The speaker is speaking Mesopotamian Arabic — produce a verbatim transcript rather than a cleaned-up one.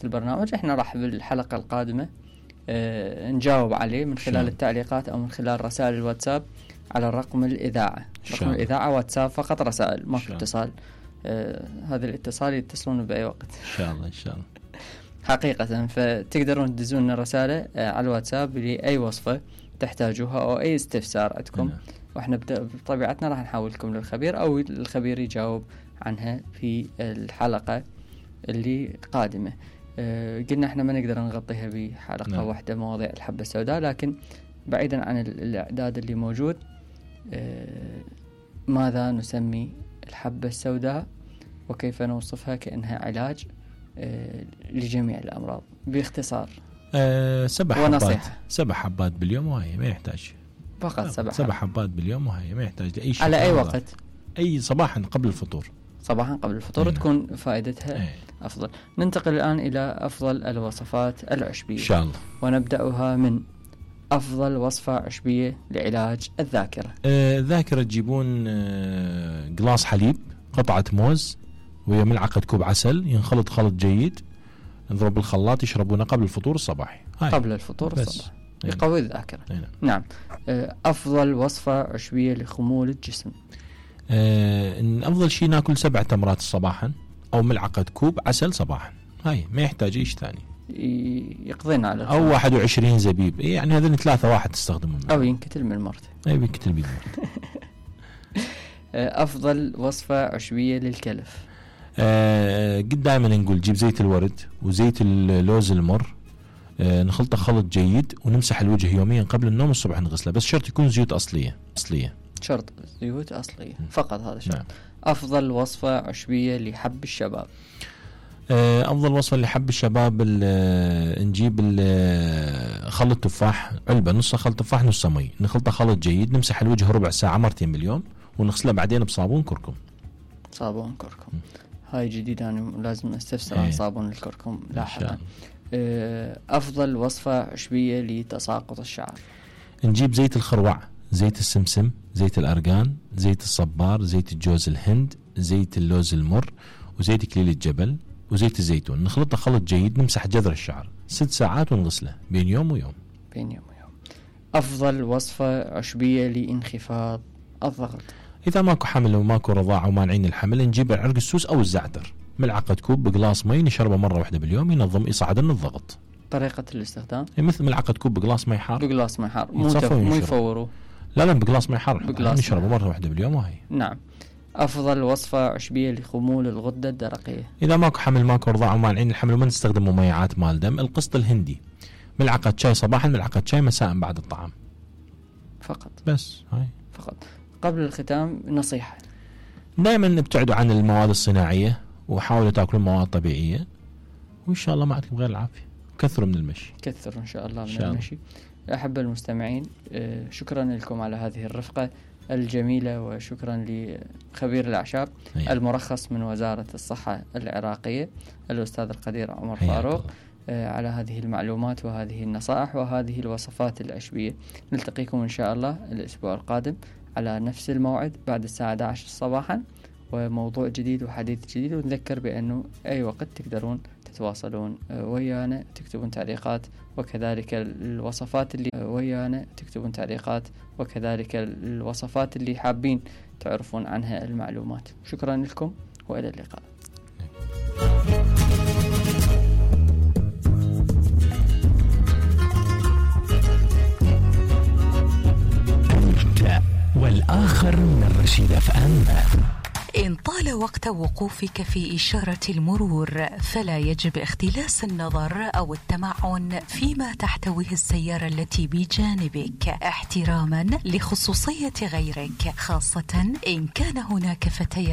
البرنامج احنا راح بالحلقة القادمة اه نجاوب عليه من خلال شان. التعليقات او من خلال رسائل الواتساب على الرقم الإذاعة. رقم الإذاعة واتساب فقط، رسائل ماكو اتصال. آه هذا الاتصال يتصلون بأي وقت إن شاء الله إن شاء الله حقيقة. فتقدرون تدزون لنا رسالة آه على الواتساب لأي وصفة تحتاجوها أو أي استفسار عندكم، نعم. وإحنا بطبيعتنا راح نحولكم للخبير أو الخبير يجاوب عنها في الحلقة اللي قادمة. آه قلنا إحنا ما نقدر نغطيها بحلقة نعم. واحدة مواضيع الحبة السوداء، لكن بعيدا عن الإعداد اللي موجود، آه ماذا نسمي الحبة السوداء وكيف نوصفها كأنها علاج آه لجميع الأمراض باختصار؟ أه سبع حبات ونصيحة. سبع حبات باليوم وهي ما يحتاج فقط سبع, سبع حبات باليوم وهي ما يحتاج لأي شيء. على أي وقت؟ أي صباحا قبل الفطور. صباحا قبل الفطور. أينا. تكون فائدتها أي. أفضل. ننتقل الآن إلى أفضل الوصفات العشبية إن شاء الله، ونبدأها من أفضل وصفة عشبية لعلاج الذاكرة. أه الذاكرة تجيبون أه قلاص حليب، قطعة موز، ويا ملعقة كوب عسل، ينخلط خلط جيد، نضرب بالخلاط، يشربونه قبل الفطور الصباحي. هاي. قبل الفطور الصباح يقوي الذاكرة. أينا. نعم. أفضل وصفة عشبية لخمول الجسم. أه إن أفضل شيء ناكل سبع تمرات صباحا أو ملعقة كوب عسل صباحا. هاي ما يحتاج إيش ثاني. يقضينا على أو واحد وعشرين زبيب، يعني هذين ثلاثة واحد تستخدمهم. أو ينكتل من مرته. أي ينكتل بيد مرته. أفضل وصفة عشبية للكلف. آه قد دائما نقول جيب زيت الورد وزيت اللوز المر، آه نخلطه خلط جيد ونمسح الوجه يوميا قبل النوم، الصبح نغسله، بس شرط يكون زيوت أصلية أصلية شرط زيوت أصلية فقط، هذا شرط. نعم. أفضل وصفة عشبية لحب الشباب. آه أفضل وصفة لحب الشباب، نجيب خلط تفاح، علبة نص خلط تفاح نص مي، نخلطه خلط جيد، نمسح الوجه ربع ساعة مرتين باليوم، ونغسله بعدين بصابون كركم. صابون كركم هاي جديدة، أنا لازم أستفسر عن صابون الكركم لاحقا. أفضل وصفة عشبية لتساقط الشعر. نجيب زيت الخروع، زيت السمسم، زيت الأرغان، زيت الصبار، زيت الجوز الهند، زيت اللوز المر، وزيت كليل الجبل، وزيت الزيتون، نخلطه خلط جيد، نمسح جذر الشعر ست ساعات ونغسله بين يوم ويوم. بين يوم ويوم. أفضل وصفة عشبية لانخفاض الضغط. إذا ماكو حمل وماكو رضاعة ومانعين الحمل، نجيب العرق السوس أو الزعتر، ملعقة كوب بقلاص مي، نشربه مرة واحدة باليوم، ينظم يصعد لنا الضغط. طريقة الاستخدام مثل ملعقة كوب بقلاص مي حار، بقلاص مي حار، مو تف... مو يفوروا، لا لا بقلاص مي حار، نشربه مرة واحدة باليوم وهي. نعم. أفضل وصفة عشبية لخمول الغدة الدرقية. إذا ماكو حمل ماكو رضاعة ومانعين الحمل وما نستخدم مميعات مال دم، القسط الهندي، ملعقة شاي صباحا، ملعقة شاي مساء بعد الطعام فقط. بس هاي فقط. قبل الختام نصيحة، دائما ابتعدوا عن المواد الصناعية وحاولوا تاكلوا مواد طبيعية، وإن شاء الله ما عندكم غير العافية. كثروا من المشي، كثروا إن شاء الله من شاء المشي. أحب المستمعين، شكرا لكم على هذه الرفقة الجميلة، وشكرا لخبير الأعشاب أيه. المرخص من وزارة الصحة العراقية الأستاذ القدير عمر فاروق على هذه المعلومات وهذه النصائح وهذه الوصفات العشبية. نلتقيكم إن شاء الله الأسبوع القادم على نفس الموعد بعد الساعة أحد عشر صباحا، وموضوع جديد وحديث جديد. ونذكر بأنه أي وقت تقدرون تتواصلون ويانا، تكتبون تعليقات، وكذلك الوصفات اللي ويانا تكتبون تعليقات وكذلك الوصفات اللي حابين تعرفون عنها المعلومات. شكرا لكم وإلى اللقاء. والآخر من رشيد اف ام. إن طال وقت وقوفك في إشارة المرور فلا يجب اختلاس النظر أو التمعن فيما تحتويه السيارة التي بجانبك، احتراما لخصوصية غيرك، خاصة إن كان هناك فتيات